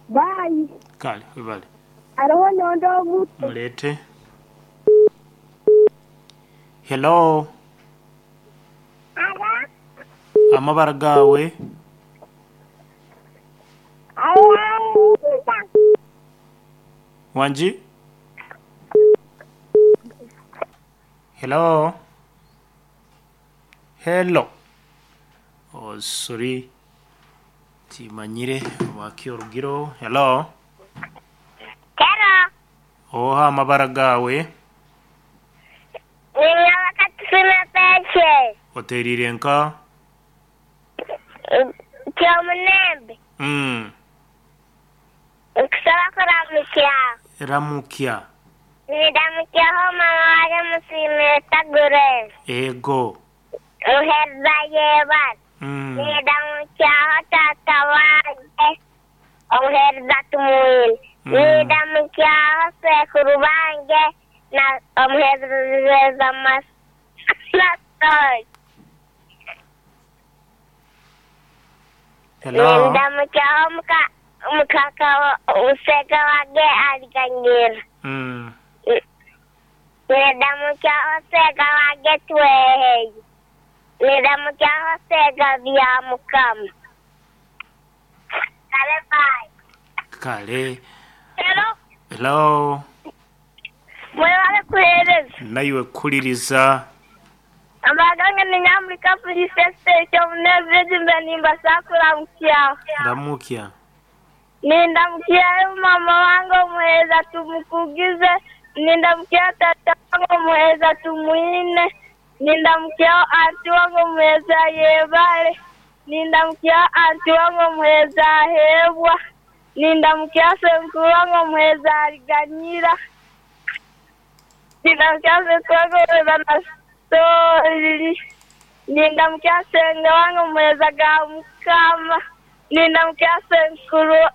Bye. Kale webale. Hariho n'ondi omuto. Muleete. Hello. Amabara gaawe. Wangi? Hello. Hello. Oh, sorry. Timanyire waki orugiro. Hello. Hello. Oha amabara gaawe. Ninyabakatusime peshe. Oteerire nka. Kyomunembe. Nkusaba kuramukya. Ramukya. Nindamukyaho mama wange musiimire Tagure. Ego. Muhereza yebare. Nindamukyaho taata wange omuhereza Tumwine. Nindamukyaho sekuru bange na omuhereza Masoi. Hello. Nindamukyaho mukaka useka wange aliganyira. Nindamukyaho sega wange Tweheye. Nindamukyaho sega bya Mukama. Kale bye. Kale. Hello. Hello. Mwebale kuheereza. Naiwe kukuliriza. Amaganga ni Nyamurika Police Station Omunezero nimbasa kuramukyaho. Ramukya. Nindamukyaho mama wange omuheereza tumukugize. Nindamukyaho tata wange omuheereza Tumwine. Nindamukyaho anti wange omuheereza Yebare. Nindamukyaho anti wange omuheereza Ahebwa. Nindamukyaho senkuru wange omuheereza Ariganyira. Nindamukyaho senkuru wange omuheereza Nasoli. Nindamukyaho senge wange omuheereza ga Mukama. Nindamukyaho senkuru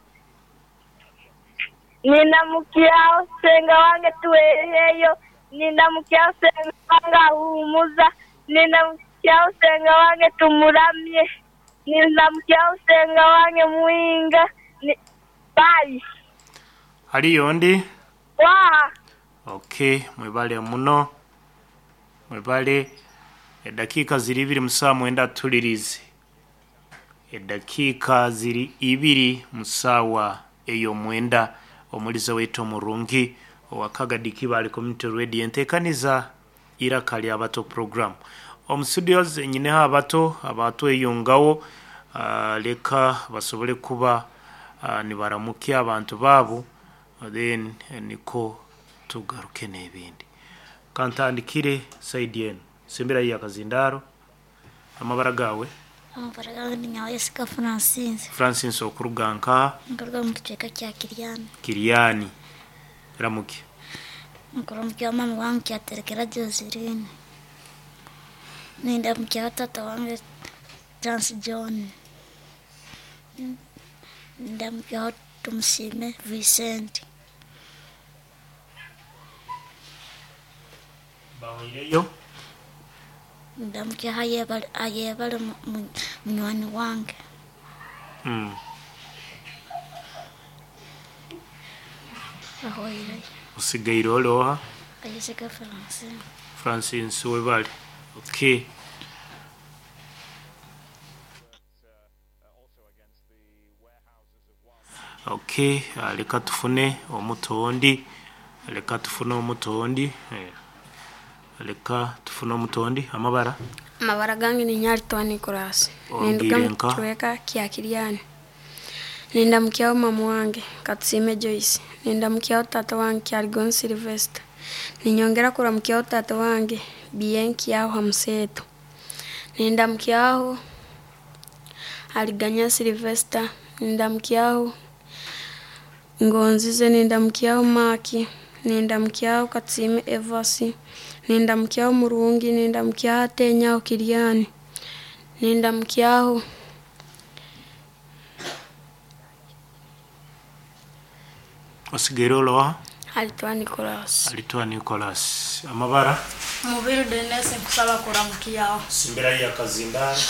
Nindamukyaho senga wange Tweheyo. Nindamukyaho senga wange Ahumuza. Nindamukyaho senga wange Tumuramye. Nindamukyaho senga wange Muhinga. Bye. Hariyo ndi? Waha. Okay, mwebale muno. Mwebale. Edakiika ziri ibiri mu ssaawa mwenda tulirize. Edakiika ziri ibiri mu ssaawa ey'omwenda omulize waitu omurungi owa Kagadi Kibaale Community Radio enteekaniza Iraka lya Bato program. Omu studios nyineho abato abatweyungawo leka basobole kuba nibaramukya abantu baabo then niko tugaruke n'ebindi. Kantandikire saidi enu. Simbira ya Kazindaro. Amabara gawe. Amabara gange ni Nyawesiga Francis. Francis okuruga nka Nkuruga mu kicweka kya Kiryani. Kiryani. Ramuki. Nkuramukya mama wange kyaterekera Joseline. Nindamukya tata wange Chance John. Nindamukya Tumusime Vincent. Bawireyo. Ndamukya ayebale munywani wange. Ahoireyo. Osigaire oroha. Ayesiga Francis. Francis webale. Okay. Okay, leka tufune omutondi. Leka tufune omutondi. Leka tufune omutondi. Amabara. Amabara gange ni Nyaritoa Nicholas. Ongire Ninduga mu nka? kicweka kya Kiryani. Nindamukyaho mama wange Katusime Joyce. Nindamukyaho tata wange Kyaligon Sylvester. Ninyongera kuramukyaho tata wange Bienki aho Hamuseto. Nindamukyaho Aliganya Sylvester. Nindamukyaho Ngonzize. Nindamukyaho Maki. Nindamukyaho Katusime Evasi. Nindamukyaho Murungi. Nindamukyaho Atenyaho Kiryani. Nindamukyaho Osigaire oroha. Alitoa Nicholas. Alitoa Nicholas. Amabara. Mubiru Denise nkusaba kuramukyaho. Simbira ya Kazindaro.